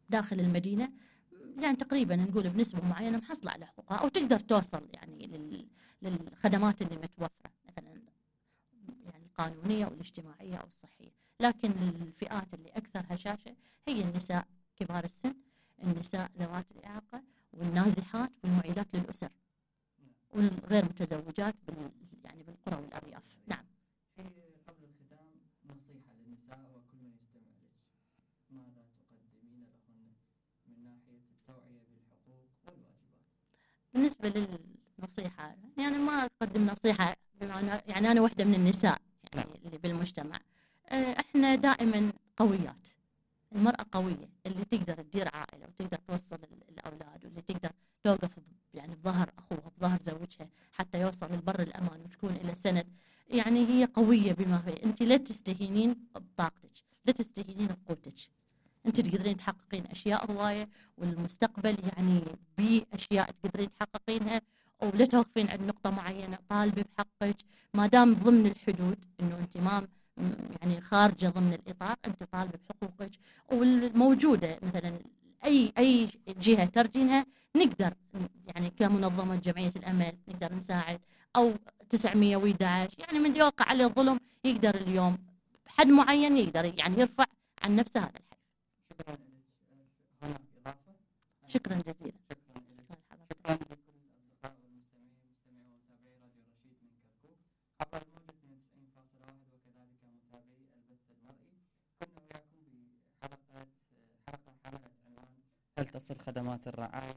داخل المدينة يعني تقريبا نقول بنسبة معينة محصلة على حقوقها أو تقدر توصل يعني للخدمات اللي متوفرة مثلا يعني القانونية أو الاجتماعية أو الصحية. لكن الفئات اللي أكثر هشاشة هي النساء كبار السن، النساء ذوات الإعاقة، والنازحات والمعيلات للأسر، والغير متزوجات يعني بالقرى والأرياف. نعم. قبل الختام نصيحة للنساء وكل من يستمع لك، ماذا تقدمين لهن من ناحية التوعية بالحقوق والواجبات؟ بالنسبة للنصيحة يعني ما أقدم نصيحة يعني أنا واحدة من النساء يعني اللي بالمجتمع. احنا دائما قويات، المرأة قوية اللي تقدر تدير عائلة وتقدر توصل الأولاد، واللي تقدر توقف يعني بظهر أخوها بظهر زوجها حتى يوصل للبر الأمان وتكون إلى سند. يعني هي قوية بما هي. أنت لا تستهينين بطاقتك، لا تستهينين بقوتك، أنت تقدرين تحققين أشياء هواية، والمستقبل يعني بأشياء تقدرين تحققينها، ولا توقفين عند نقطة معينة. طالبي بحقك ما دام ضمن الحدود، إنه أنت ما يعني خارجة ضمن الإطار، أنت طالبة بحقوقك والموجودة. مثلا أي جهة ترجينها نقدر يعني كمنظمة جمعية الأمل نقدر نساعد، أو 911 يعني من يوقع عليه الظلم يقدر اليوم بحد معين يقدر يعني يرفع عن نفسه هذا الحد. شكرا لك. هناك إضافة؟ شكرا جزيلا. شكرا لك. شكرا لكل الأصدقاء والمستمعين مستمعي ومتابعي راديو رشيد من كركوك عبر الموجة 92.1 وكذلك متابعي البث المرئي. كنا وياكم بحلقة حملت عنوان هل تصل خدمات الرعاية